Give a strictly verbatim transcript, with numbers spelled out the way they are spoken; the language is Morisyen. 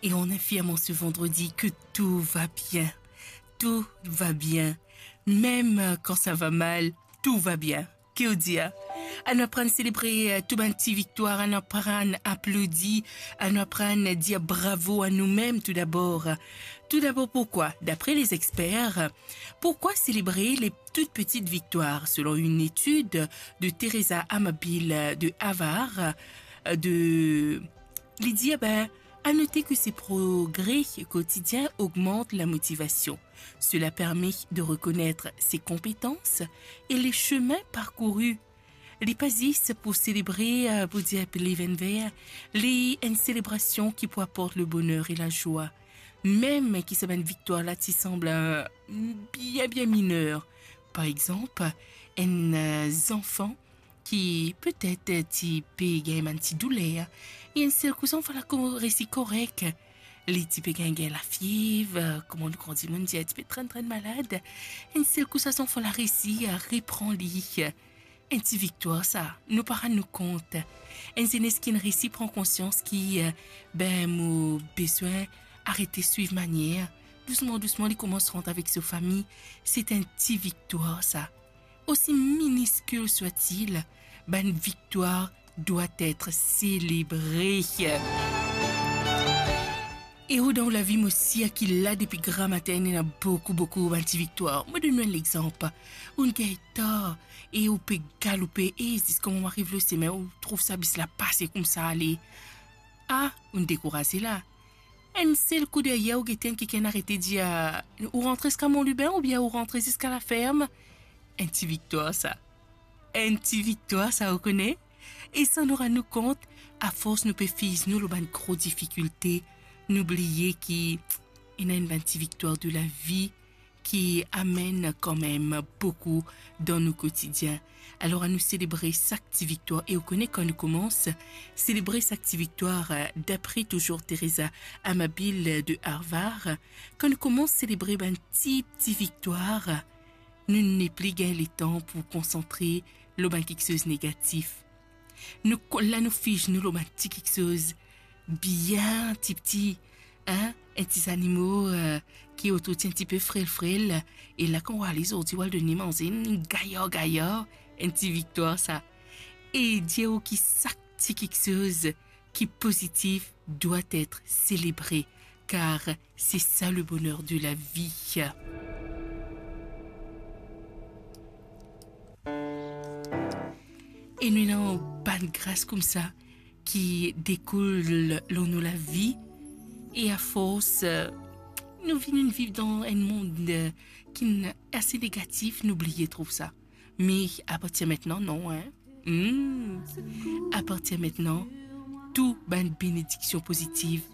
Et en affirmant ce vendredi que tout va bien. Tout va bien. Même quand ça va mal, tout va bien. Ki ou dir? Anou aprann selebre, euh, tou bann ti viktwar, anou aprann aplodi, anou aprann dir bravo à nous-mêmes tout d'abord. Tout d'abord, pourquoi? D'après les experts, pourquoi célébrer les toutes petites victoires? Selon une étude de Teresa Amabil de Harvard, euh, de, li dir, ben, à noter que ces progrès quotidiens augmentent la motivation. Cela permet de reconnaître ses compétences et les chemins parcourus. Li pa zis pou selebre, euh, pou dir li vinn ver, li enn selebrasion ki pou aport le bonheur et la joie. Mem ki sa bann viktwar la ti sanble, euh, bien, bien miner. Par exanp, enn, euh, zanfan ki petet ti pe gagn bann ti douler, e enn sel kou zanfan la ko-, resi korek. Li ti pe gagn, gagn lafiev, kouma nou gran dimoun dir, ti pe trenn, trenn malad. Enn sel kou sa zanfan la resi a repran li. Enn ti viktwar sa, nou pa rann nou kont. Enn zenes ki inn resi pran konsians ki, eh, ben, mo bizin arete swiv manier. Dousman, dousman, li koumans rant avek so fami. Se enn ti viktwar sa. Aussi minuscule soit-il, bann viktwar doit être célébré. E ou dan ou lavi, mo sir ki la depi gramatin, ena boukou, boukou bann ti viktwar. Mo donn nou enn lexanp. Ou gagn tar e ou pe galoupe, e ziska moman ariv lor semin, ou trouv sa bis la pase koumsa ale. Ah, ou dekouraze la. Enn sel kou deryer, ou gete enn kikenn arete dir, ah, ou rantre ziska Mont Lubin oubien ou rantre ziska laferm. Enn ti viktwar sa. Enn ti viktwar sa, ou kone. E san nou rann nou kont, afors nou pe fiz nou lor bann gro difikilte, nou bliye ki ena enn bann ti viktwar de lavi ki amenn kanmem boukou dan nou kotidien. Alor, anou selebre sak ti viktwar. E ou kone, kan nou koumans selebre sak ti viktwar, dapre touzour Teresa Amabil de Harvard, kan nou koumans selebre bann ti, ti viktwar, nou nepli gagn letan pou konsantre lor bann kiksoz negatif. Nou ko-, la nou fiz nou lor bann ti kiksoz bien tipti, hein? Enn ti zanimo, eh, ki ou trouv ti enn tipe frel, frel, e la kan ou ale zordi, ou al donn li manze, enn gayar, gayar, enn ti viktwar sa. E dir ou ki sak ti kiksoz ki pozitif doit être célébré, car c'est ça le bonheur de la vie. E nou ena bann gras koumsa ki dekoul lor nou lavi, e afors, eh, nou vinn viv dan enn mond, eh, ki ase negatif, nou bliye trouv sa. Me apartir mintnan, non, hein? Hmm. Apartir mintnan, tou bann benediksion pozitif